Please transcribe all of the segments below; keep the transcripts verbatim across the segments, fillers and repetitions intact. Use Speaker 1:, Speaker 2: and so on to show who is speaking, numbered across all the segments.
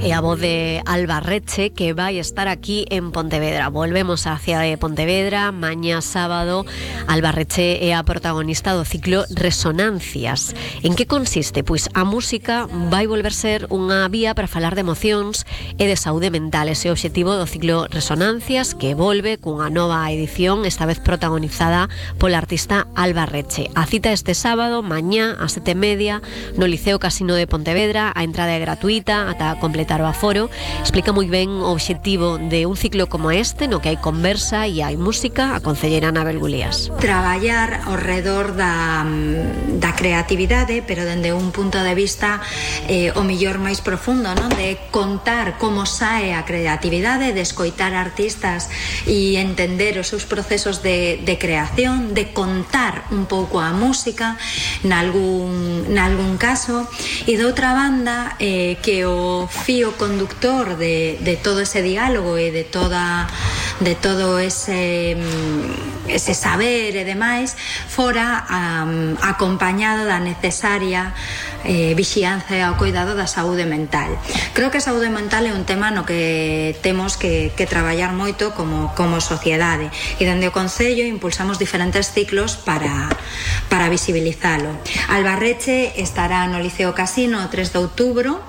Speaker 1: e a voz de Alba Reche, que vai estar aquí en Pontevedra. Volvemos á cidade de Pontevedra mañá sábado. Alba Reche é a protagonista do ciclo Resonancias. En que consiste? Pois a música vai volver ser unha vía para falar de emocións e de saúde mental. Ese é o obxectivo do ciclo Resonancias, que volve cunha nova edición, esta vez protagonizada pola artista Alba Reche. A cita este sábado, mañá, a sete e media, no Liceo Casino de Pontevedra. A entrada é gratuita ata completar o aforo. Explica moi ben o obxectivo de un ciclo como este, no que hai conversa e hai música, a concelleira Anabel Gulías.
Speaker 2: Traballar ao redor da, da creatividade, pero dende un punto de vista eh, o millor máis profundo, non? De contar como sae a creatividade, de escoitar artistas e entender os seus procesos de, de creación, de contar un pouco a música nalgún, nalgún caso, e de outra banda eh, que o fío conductor de, de todo ese diálogo e de toda de todo ese ese saber e demais fora um, acompañado da necesaria eh, vixianza e ao cuidado da saúde mental. Creo que a saúde mental é un tema no que temos que, que traballar moito como, como sociedade, e dende o Concello impulsamos diferentes ciclos para, para visibilizalo. Alba Reche estará no Liceo Casino o tres de outubro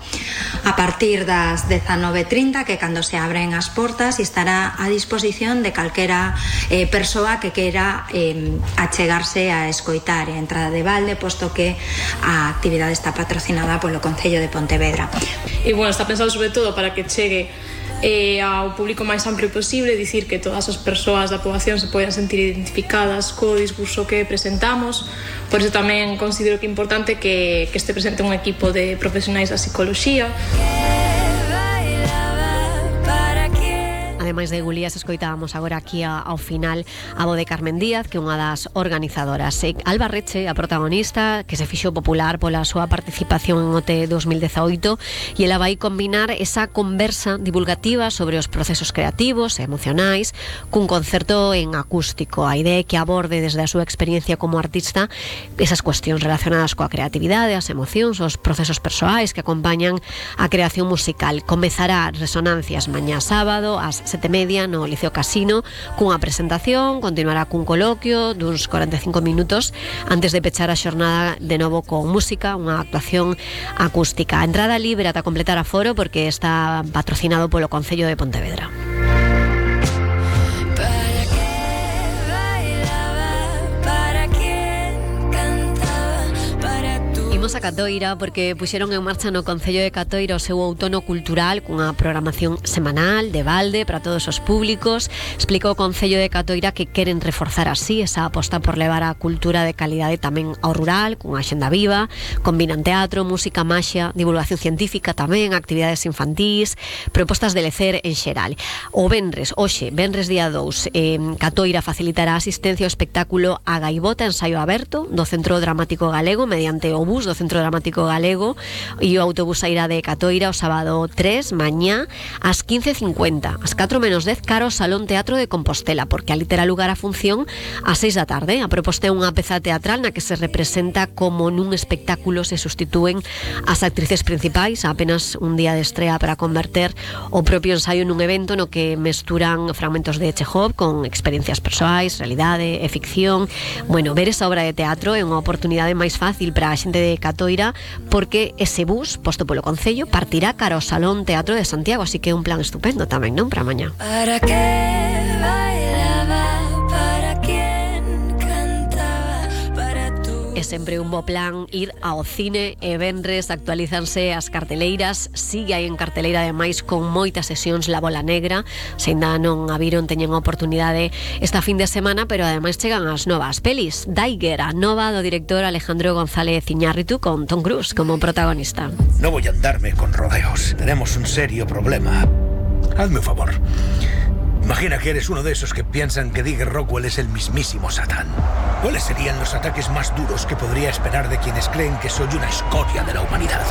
Speaker 2: a partir das dezanove e trinta, que cando se abren as portas, e estará a disposición de calquera eh, persoa que queira eh, achegarse a escoitar, a entrada de balde, posto que a actividade está patrocinada polo Concello de Pontevedra.
Speaker 3: E bueno, está pensado sobre todo para que chegue eh, ao público máis amplio posible, dicir que todas as persoas da poboación se poden sentir identificadas co discurso que presentamos. Por iso tamén considero que é importante que, que este presente un equipo de profesionais da psicoloxía.
Speaker 1: Ademais de Gulías, escoitábamos agora aquí ao final a voz de Carmen Díaz, que é unha das organizadoras. E Alba Reche, a protagonista, que se fixo popular pola súa participación en O T dos mil dezaoito, e ela vai combinar esa conversa divulgativa sobre os procesos creativos e emocionais cun concerto en acústico. A idea é que aborde desde a súa experiencia como artista esas cuestións relacionadas coa creatividade, as emocións, os procesos persoais que acompañan a creación musical. Comezará Resonancias mañá sábado ás sete e media no Liceo Casino cunha presentación, continuará cun coloquio duns cuarenta e cinco minutos antes de pechar a xornada de novo con música, unha actuación acústica. A entrada libre ata completar aforo, porque está patrocinado polo Concello de Pontevedra. A Catoira, porque puxeron en marcha no Concello de Catoira o seu outono cultural cunha programación semanal de balde para todos os públicos. Explica o Concello de Catoira que queren reforzar así esa aposta por levar a cultura de calidade tamén ao rural, cunha axenda viva. Combinan teatro, música, maxia, divulgación científica tamén, actividades infantís, propostas de lecer en xeral. O venres, hoxe, venres día dous, eh, Catoira facilitará asistencia ao espectáculo A Gaivota, ensaio aberto do Centro Dramático Galego mediante o bus do Centro Dramático Galego, e o autobús sairá de Catoira o sábado tres, mañá, ás quince e cincuenta, ás catro menos dez, cara ao Salón Teatro de Compostela, porque ali terá lugar a función ás seis da tarde. A proposta é unha peza teatral na que se representa como nun espectáculo se sustitúen as actrices principais, apenas un día de estrea para converter o propio ensaio nun evento no que mesturan fragmentos de Chekhov con experiencias persoais, realidade e ficción. Bueno, ver esa obra de teatro é unha oportunidade máis fácil para a xente de Catoira, porque ese bus posto polo Concello partirá cara ao Salón Teatro de Santiago, así que é un plan estupendo tamén, non? Para mañá. Para que bailaba, para quen cantaba, para tú. É sempre un bo plan ir ao cine e venres, actualízanse as carteleiras, sigue aí en carteleira ademais con moitas sesións La Bola Negra. Se ainda non a viron, teñen a oportunidade esta fin de semana, pero ademais chegan as novas pelis. Daiger, a nova do director Alejandro González Iñárritu, con Tom Cruise como protagonista.
Speaker 4: No voy a andarme con rodeos. Tenemos un serio problema. Hazme un favor. Imagina que eres uno de esos que piensan que Digger Rockwell es el mismísimo Satán. ¿Cuáles serían los ataques más duros que podría esperar de quienes creen que soy una escoria de la humanidad?